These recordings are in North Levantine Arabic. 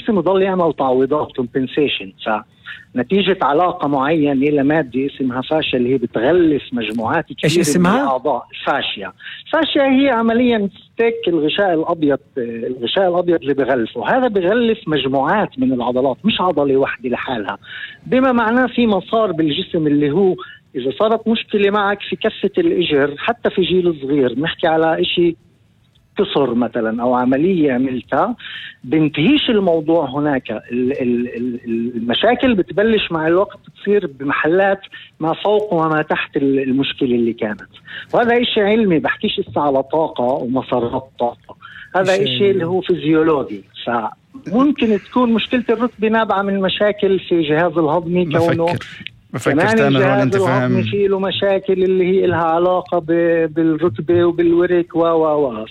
الجسم يضل يعمل تعويضات compensation. نتيجة علاقة معينة لمادة اسمها فاشيا اللي هي بتغلف مجموعات كثيرة من الأعضاء. فاشيا هي عمليا ستيك الغشاء الأبيض اللي بغلفه. هذا بغلف مجموعات من العضلات، مش عضلة واحدة لحالها، بما معناه في مسار بالجسم اللي هو إذا صارت مشكلة معك في كفة الإجر حتى في جيل صغير، نحكي على إشي كسر مثلا أو عملية عملتها، بنتهيش الموضوع هناك. المشاكل بتبلش مع الوقت تصير بمحلات ما فوق وما تحت المشكلة اللي كانت. وهذا إشي علمي، بحكيش على طاقة ومسارات طاقة، هذا إشي اللي هو فيزيولوجي. فممكن تكون مشكلة الركبة نابعة من مشاكل في الجهاز الهضمي، كونه بفكر تامر هون انت فاهم في له مشاكل اللي هي لها علاقة بالركبة وبالورك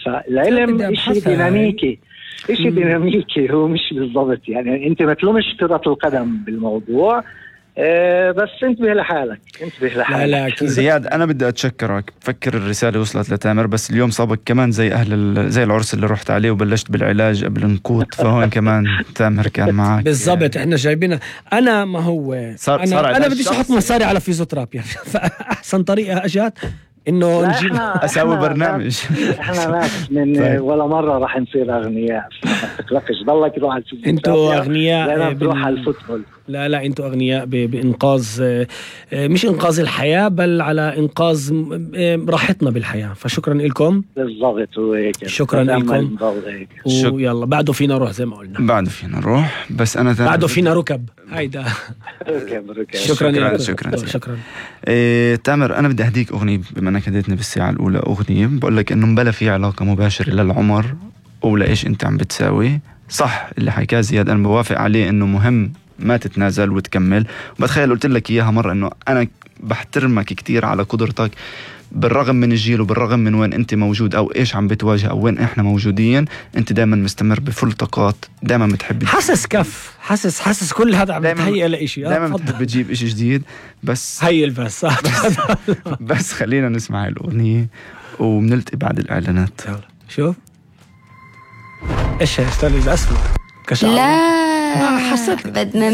فالعلم إشي ديناميكي، هو مش بالضبط يعني انت ما تلومش كرة القدم بالموضوع. بس انتبه لحالك. لا زياد، انا بدي اتشكرك. بفكر الرسالة وصلت لتامر، بس اليوم صابك كمان زي العرس اللي رحت عليه وبلشت بالعلاج قبل نقوط، فهون كمان تامر كان معك بالضبط. احنا جايبينها. انا ما هو انا بديش احط مصاري على فيزيوثيرابي فاحسن طريقة اجت انه نجيب اسوي برنامج. احنا ناس من طيب. ولا مرة راح نصير اغنياء، ما تقلقش، ضلك روح على الفوتبول. انتوا اغنياء بروح على الفوتبول. لا انتوا اغنياء بانقاذ، مش انقاذ الحياة، بل على انقاذ راحتنا بالحياة. فشكرا لكم. بالضبط وهيك. شكرا لكم. ويلا بعده فينا نروح زي ما قلنا. بعده فينا نروح، بس انا بعده فينا ركب. هيدا ركب. شكرا. تامر، انا بدي اهديك اغنية بما انك هديتني بالساعة الاولى اغنية. بقول لك انه مبلا في علاقة مباشرة للعمر ولا ايش انت عم بتساوي. صح اللي حكاه زياد، انا بوافق عليه انه مهم ما تتنازل وتكمل. وبتخيل قلت لك اياها مرة انه انا بحترمك كتير على قدرتك بالرغم من الجيل وبالرغم من وين انت موجود او ايش عم بتواجه او وين احنا موجودين، انت دائما مستمر بفل طاقات، دائما بتحب حاسس كل هذا عم بتهيئ لإشي، دائما بتحب تجيب إشي جديد. بس بس خلينا نسمع الأغنية وبنلتقي بعد الإعلانات. شوف ايش استنى اسمع لا حسيت بدنا